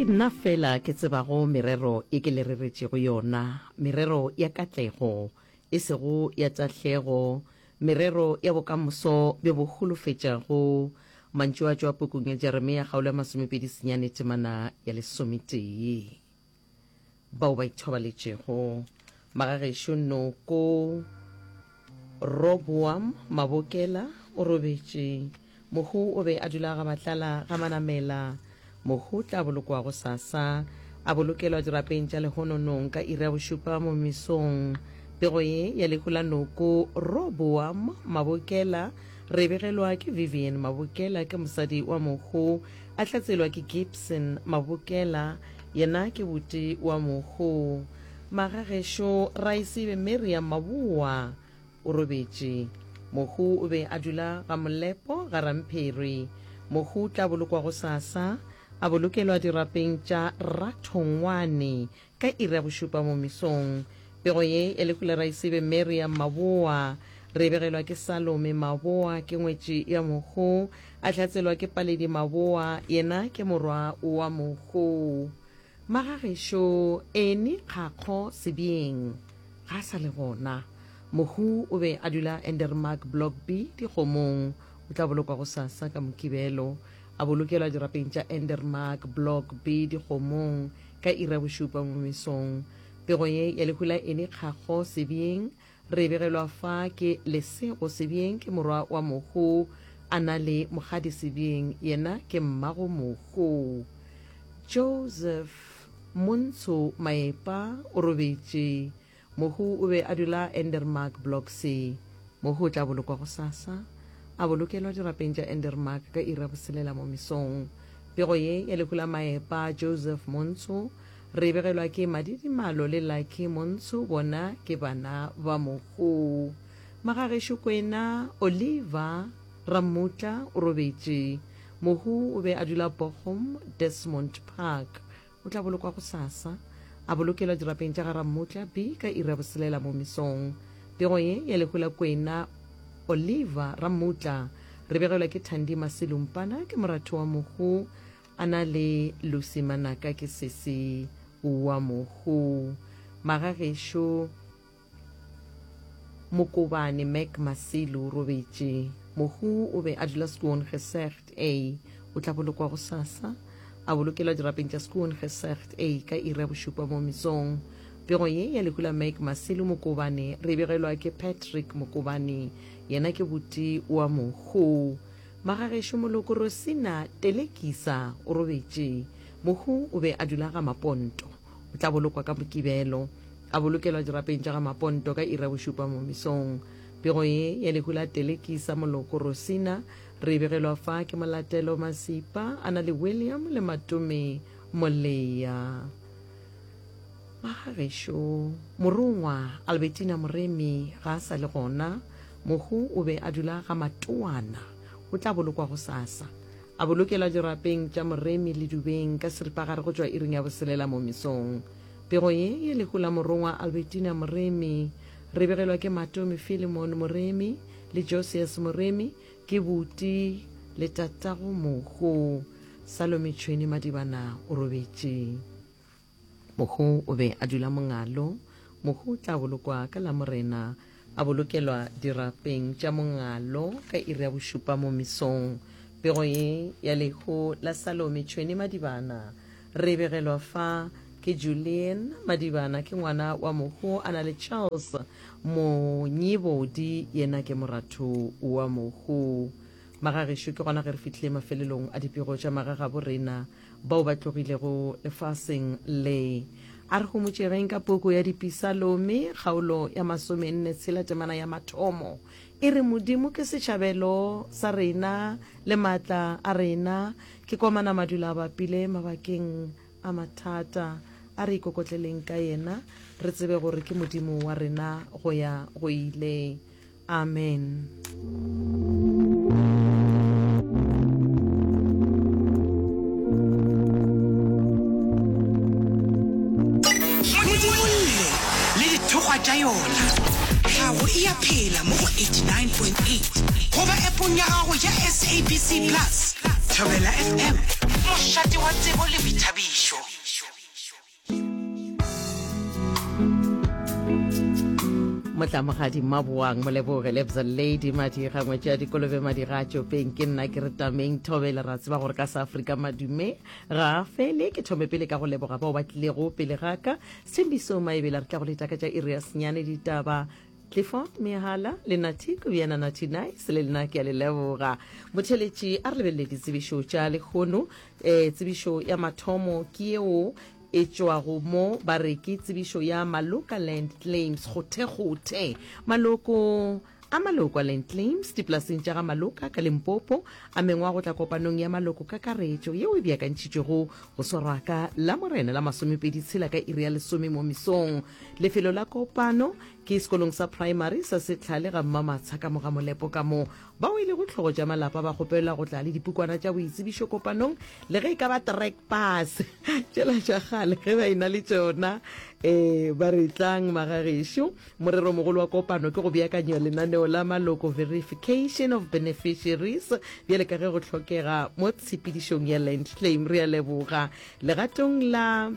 nna feela ke tsebago merero ye ke le reretšego yona, merero ya katlego, e sego ya tahlego, merero ya bokamoso bjo bo holofetšago. Mantšu a tšwa pukung ya Jeremia kgaolo ya 29 temana ya lesometee. Bao ba ithobaletšego. Magagešo Noko Roboam Mabokela o robetše. Mohu o be a dula ga Matlala ga Manamela. Mohu o tla bolokwa gosasa, a bolokelwa dirapeng tša lehononong ka iri ya bošupa mo mesong. Pego ye ya lehu la Noko Roboam Mabokela re e begelwa ke Vivian Mabokela ke mosadi wa mohu, a hlatselwa ke Gibson Mabokela, yena ke buti wa mohu. Magagešo Raisibe Miriam Maboa o robetše. Mohu o be a dula ga Molepo ga Ramphiri. Mohu o tla bolokwa gosasa, a bolokelwa dirapeng tša Rathongwane ka iri ya bošupa mo mesong. Pego ye ya lehu la Raisibe Miriam Maboa re e begelwa ke Salome Maboa ke ngwetši ya mohu, a hlatselwa ke Paledi Maboa yena ke morwa wa mohu. Magagešo Annie Kgakgo Sebieng ga a sa le gona. Mohu o be a dula Endermark Block B Dikgomong. O tla bolokwa gosasa ka Mokibelo. A bolokelwa dirapeng tša Endermark Block B Dikgomong ka iri ya bošupa mo mesong. Pego ye ya lehu la Annie Kgakgo Sebieng Re begelwa fa ke Lesego Sebieng ke morwa wa mohu a na le Mokgadi Sebieng yena ke mmago mohu. Joseph Montsho Maepa o robetše. Mohu o be a dula Endermark Block C. Mohu o tla bolokwa gosasa, a bolokelwa dirapeng tša Endermark ka iri ya boselela mo mesong. Pego ye ya lehu la Maepa Joseph Montsho Re begelwa ke Madidimalo le Lucky Montsho, bona ke bana ba mohu. Magagešo Kwena Oliver Rammutla o robetše. Mohu o be a dula Bochum, Desmond Park. O tla bolokwa gosasa, a bolokelwa dirapeng tša ga Rammutla B ka iri ya boselela mo mesong. Pego ye ya lehu la Kwena Oliver Rammutla re begelwa ke Thandi Masilumpana ke moratho wa mohu. A na le Lucy Manaka ke sesi wa mohu. Magagešo Mokobane Mac Masilu o robetše. Mohu o be a dula Skoongesecht A. O tla bolokwa gosasa, a bolokelwa dirapeng tša Skoongesecht A ka iri ya bošupa mo mesong. Pego ye ya lehu la Mac Masilu Mokobane re e begelwa ke Patrick Mokobane, yena ke buti wa mohu. Magagešo moloko Rosina Telekisa o robetše. Mohu o be a dula ga Maponto. O tla bolokwa ka Mokibelo. A bolokelwa dirapeng tša ga Maponto ka iri ya bošupa mo mesong. Pego ye ya lehu la Telekisa moloko Rosina re e begelwa fa ke Molatelo Masipa a na le William le Matome Moleya. Magagešo, Morongwa Albertina Moremi ga a sa le gona. Mohu o be a dula ga Matoana. O tla bolokwa gosasa. A bolokelwa dirapeng tša Moremi le Dubeng ka seripagare go tšwa iring ya boselela mo mesong. Pego ye ya lehu la Morongwa Albertina Moremi re begelwa ke Matome Philemon Moremi le Josias Moremi ke buti le tatago mohu. Salome Tšhwene Madibana o robetše. Mohu o be a dula Mongalo. Mohu o tla bolokwa ka Lamorena, a bolokelwa dirapeng tša Mongalo ka iri ya bošupa mo mesong. Pego ye ya lehu la Salome Tšhwene Madibana re e begelwa fa ke Julian Madibana, ke ngwana wa mohu a na le Charles Monyibodi, yena ke moratho wa mohu. Magagešo, ke gona ge re fihlile mafelelong a dipego tša magagabo rena. bao ba tlogilego lefaseng le. A re homotšegeng ka puku ya Dipisalome, kgaolo ya masomenne tshela temana ya mathomo. E re, Modimo ke setšhabelo sa rena le maatla a rena, ke komana madula a bapile mabakeng a mathata. A re ikokotleleng ka yena, re tsebe gore ke Modimo wa rena go ya go ile. Amen. Modimolle le dithokgwa tša yona. Tlhago e a phela mo go 89.8 goba appong ya gago ya SABC Plus. Thobela FM, mošate wa tsebo le boithabišo. Motlamogadi Mmaboang Moleboge Lebza Lady Madira Ngwetši ya Dikolobe Madira a Tšopeng ke nna ke re tameng thobele ra tseba gore ka sa Afrika madume ga a fele ke thome pele ka go leboga bao ba tlilego pele ga ka Sthembiso Maebela re tla go leta ka tša iri ya senyane ditaba Clifford Mehala le Nathi Kobiana Nathi Nice le lena ke a le leboga motheletši a re lebelele ditsebišo tša lehono um tsebišo ya mathomo ke yeo e tšwago mo ba re ke tsebišo ya Maloka Land Claims kgothekgothe. Maloko a maloko a Land Claims dipolaseng tša ga Maloka ka Limpopo a mengwa go tla kopanong ya maloko kakaretšo yeo e beakantšhitšwego go swarwa ka Lamorena la masomepedi tshela ka iri ya lesome mo mesong. Lefelo la kopano ke sekolong sa primary sa Setlhale ga Mmamatsha ka mo ga Molepo ka mo Bao e lego hlogo tša malapa ba kgopelwa go tla le dipukwana tša boitsebišo kopanong, le ge e ka ba track pass tšela tša kgale ge ba e-na le tšona. Ee, ba re tlang magagešo. Moreromogolo wa kopano ke go beakanya lenaneo la maloko, verification of beneficiaries, bjale ka ge go hlokega mo tshepedišong ya land claim. Re a leboga legatong la.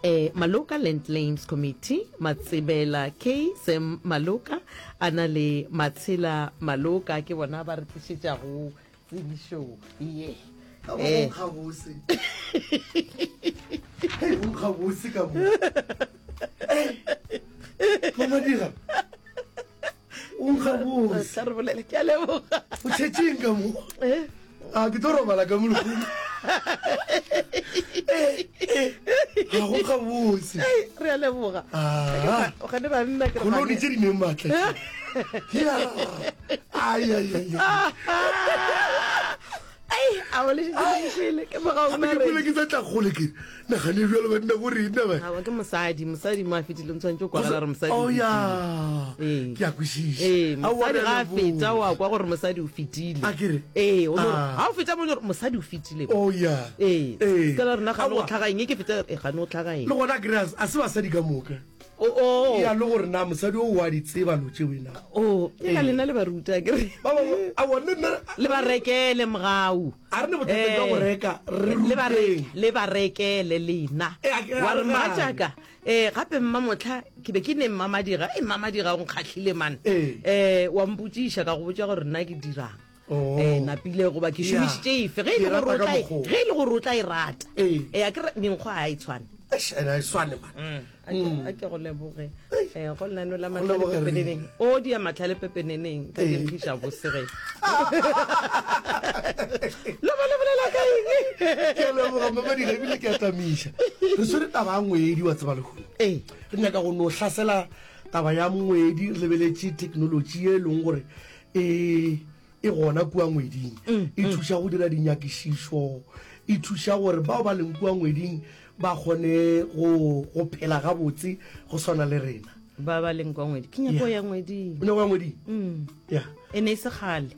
Eh, Maloka Land Claims Committee, Matsebela K. Sam Maloka, a na le Matshela Maloka, ke bona ba re tlišetšago tsebišo ye. Ka mo go nkga bose. Hei, go nkga bose ka mo. Eh, Mama Dira. O nkga bose. Tla re bolele, ke a leboga. O tšhetšeng ka mo? Eh? A ke tlo robala ka mo lehono. Eh, eh, ga go nkga bose. Ei, re a leboga. Ah. O gane banna ke re Koloni gane- tše di neng maatla tše. Ya. Ai, ai, ai, ai. Ai, a o le šetše le nkwele, ke moga o Gape ke kwele ke sa tla kgole ke nagane bjalo banna go rena ba. Aowa, ke mosadi, mosadi mo a fetile o tshwanetse o kwagala gore mosadi o Oh ya. Ee. Ke a kwešiša. Ee, Aowa, mosadi re a ga a feta leboga. wa kwa gore mosadi o fetile. A ke re? Ee, o no re, Ah. ga o feta mo o no re mosadi o fetile. Oh ya. Ee, Ee. se ka la rena gane go Aowa. tlhaga eng e ke feta, e gane go tlhaga eng. Le gona a ke re a se basadi ka moka. O, o. Ya le gore na mosadi o wa di tseba lo tšeo na. O, ke ka lena le ba ruta ke re. Ba ba aowa le nna. Le ba rekele mogau. A re ne bothata jwa go reka re Le ba ruteng. le ba rekele lena. Eh, a ke- Wa a re re mogatšaka, eh gape mmamohla ke be ke ne mmamadira, eh mmamadira o nkgahlile man. Eh. Eh wa mpotšiša ka go botša gore nna ke dirang. Oh. Eh napile goba ke Yeah. šomišitše efe ge e Ke le gore rata o ka tla e- mokgwa o. ge e le gore o tla e rata. Ee. Eh a ke re menkgo ga e tshwane. Eish, ene a e swane man. A ke- a ke go leboge Eh, go lenaneo la Go mahlale leboge rena. pepeneneng o dia mahlale pepeneneng ka Ee. ke nkgiša bose ge le ba le bolela ka eng Ke a leboga Mmamadira ebile ke a tamiša. Re swere taba ya ngwedi wa tseba lehono. Ee. Re nyaka go no hlasela taba ya ngwedi re lebeletše technology ye e leng gore e e gona kua ngweding mm, e mm. thuša go dira dinyakišišo e thuša gore bao ba leng kua ngweding ba kgone go go phela gabotse go swana le rena ba ba leng kwa ngwedi ke nyako ya ngweding o nyako ya ngweding mm. ya e ne e se kgale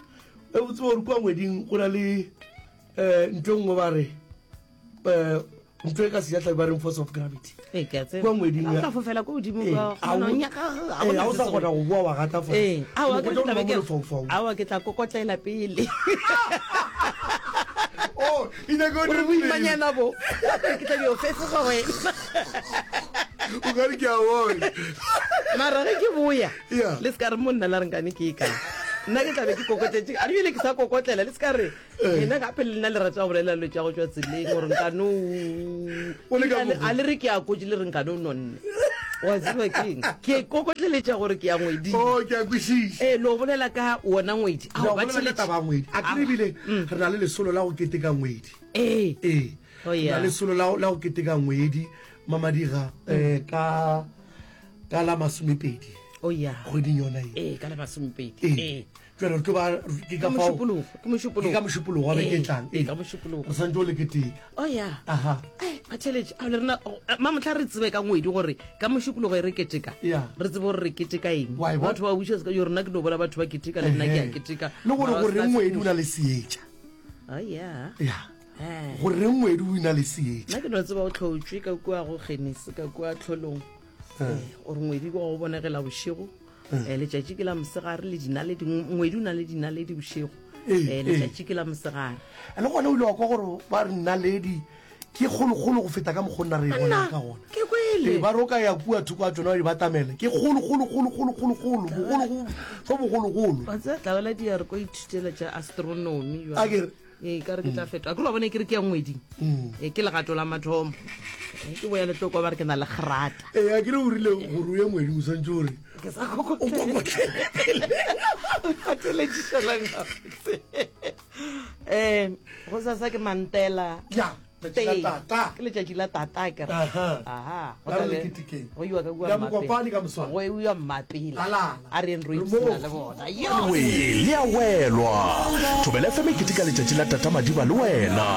e botse gore kua ngweding go na le um ntho e nngwe ba re um ntho e ka sejatlhapi ba reng force of gravity Ee, ke a tseba. Kua ngweding O ya- tla fofela ko godimo Ee, kwa, a o- gona o nyaka- ga ee, gona ga o se sa se kgona go boa wa gata fase. Ee, aowa, O ke tlo tla be ba ke mo re- lefaufaung. aowa, ke tla kokotlela pele Oh, e nyaka o gore dire boimanyana bo ke tla dio fefoga wena O ka re ke a bona. mara ge ke boya Yeah. le se ka re monna la re nkane ke e kae nna ke tla be ke kokotletše a ebile ke sa kokotlela le se ka re Lena gape le nna le rata go bolela dilo tša go tšwa tseleng gore nkane O le ka mokgwa. a le re ke a kotse le re nkane o nonne wa tseba keng ke kokotleletša gore ke ya ngweding Oh, ke a kwešiša. ee lo bolela ka wona ngwedi Ao, Ao, ba ba bolela ka theletše. taba ya ngwedi. A ke re ebile re na le lesolo la go keteka ngwedi. ee Ee. Oh, Re na yeah. lesolo la la go keteka ngwedi Mamadiga eh ka ka la masomepedi oh ya kgweding yona ye. ee ka la masomepedi Ee. ee Jale re tlo ba ke ka Ka fao Mošupologo, ke Mošupologo. Ke ka Mošupologo wa beke e Ee, tlang. ee, ka Mošupologo. Re santse o le keteka. Oh ya. Aha. Ai, batheeletši, ao le rena, oh, mamohla re tsebe ka ngwedi gore ka Mošupologo e re keteka. Ya. Re tsebe gore re keteka eng. Wa e bona? Batho ba buša se ka yo rena ke no bona batho ba keteka le nna ke a Ehe. keteka. Le gore Mara gore se ngwedi o na le seetša. Oh ya. Ya. Eh. Gore ngwedi o na le seetša. Nna ke no tseba o tlhotšwe ka kua go Genesi ka kua tlholong. Eh, gore ngwedi ke wa go bonegela bošego. Eh, letšatši ke la mosegare le dinaledi ngwedi o na le dinaledi bošego Ee, Eh, ee. letšatši ke la mosegare Le gona o ile wa kwa gore ba re naledi ke kgolokgolo go feta ka mokgwa nna re e bonang ka gona. ke kwele. Ee, ba re o ka ya kua thoko a tšona wa di batamela. Ke kgolo, kgolo, kgolo, kgolo, kgolo, kgolo, bogolo, go, go bogologolo. Wa tseba tlabela di ya re ko ithutela tša astronomy A ke re? Ee, ka re ke tla fetoga. Ke re wa bona e ke re ke ya ngweding. Ee, ke legato la mathomo. Ee, ke boya le tlo kwa ba re ke na le grata. Ee, a ke re o rile gore o ye ngweding o swantše o re Ke sa kokotlele pele. O kgateletšišelang gabotse. Um, gosasa ke Mantela. Ya, letšatši la tata. Ke letšatši la tata ke re. Aha. Aha. Go La re tla be- le ketekeng. Go iwa ka kua Ya Mmapela. Mokopane ka moswane. Go iwa Mmapela. Alala. A re yeng ro Re ipshina moo. le bona. Yo! We le a welwa. Thobela FM e keteka letšatši la Tata Madiba le wena.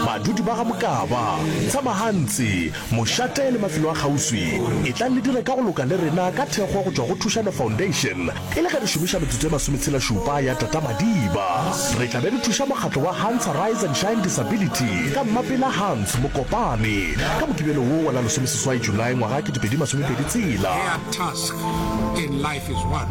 Badudi ba ga Mokaba, Tshamahantsi, Mošate le mafelo a kgauswi, etlang le dire ka go loka le rena ka thekgo go tšwa go Thušano Foundation e le ge re šomiša metsotso e masometshela-šupa ya Tata Madiba. Re tla be re thuša mokgatlo wa Hans Rise and Shine Disability ka Mmapela Hans Mokopane ka Mokibelo wo wa la lesomeseswai Julae ngwaga 2026. Their task in life is one,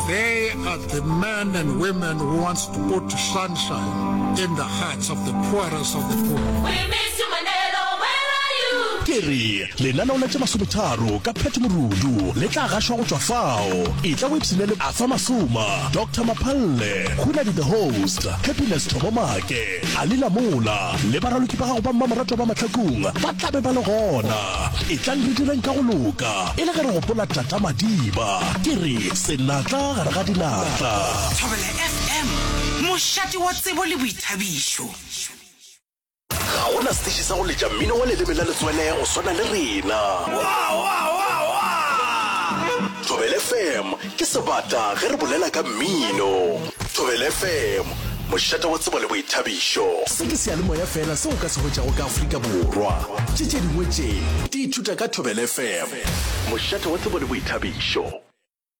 they are the men and women who wants to put sunshine in the hearts of the poorest of the poor. We miss you Manelo, where are you? Ke re, lenaneo la tše masometharo ka Pat Morudu le tla gašwa go tšwa fao. Etla o ipshine le Arthur Masoma, Doctor Maphalle, Hunadi the Host, Happiness Thobo Make, Ali Lamola le baraloki ba gago ba mmamoratwa ba Mahlakung ba tla be ba le gona. Etlang re direng ka go loka e le ge re gopola Tata Madiba. Ke re, senatla gare ga dinatla. Thobela FM, mošate wa tsebo le boithabišo. Ga go na setiši sa go letša mmino wa leleme la letswele go swana le rena. Thobela FM ke sebata ge re bolela ka mmino. Thobela FM, mošate wa tsebo le boithabišo. Se ke seyalemoya feela seo o ka se hwetšago ka Afrika Borwa. Tše tše dingwe tše di ithuta ka Thobela FM, mošate wa tsebo le boithabišo.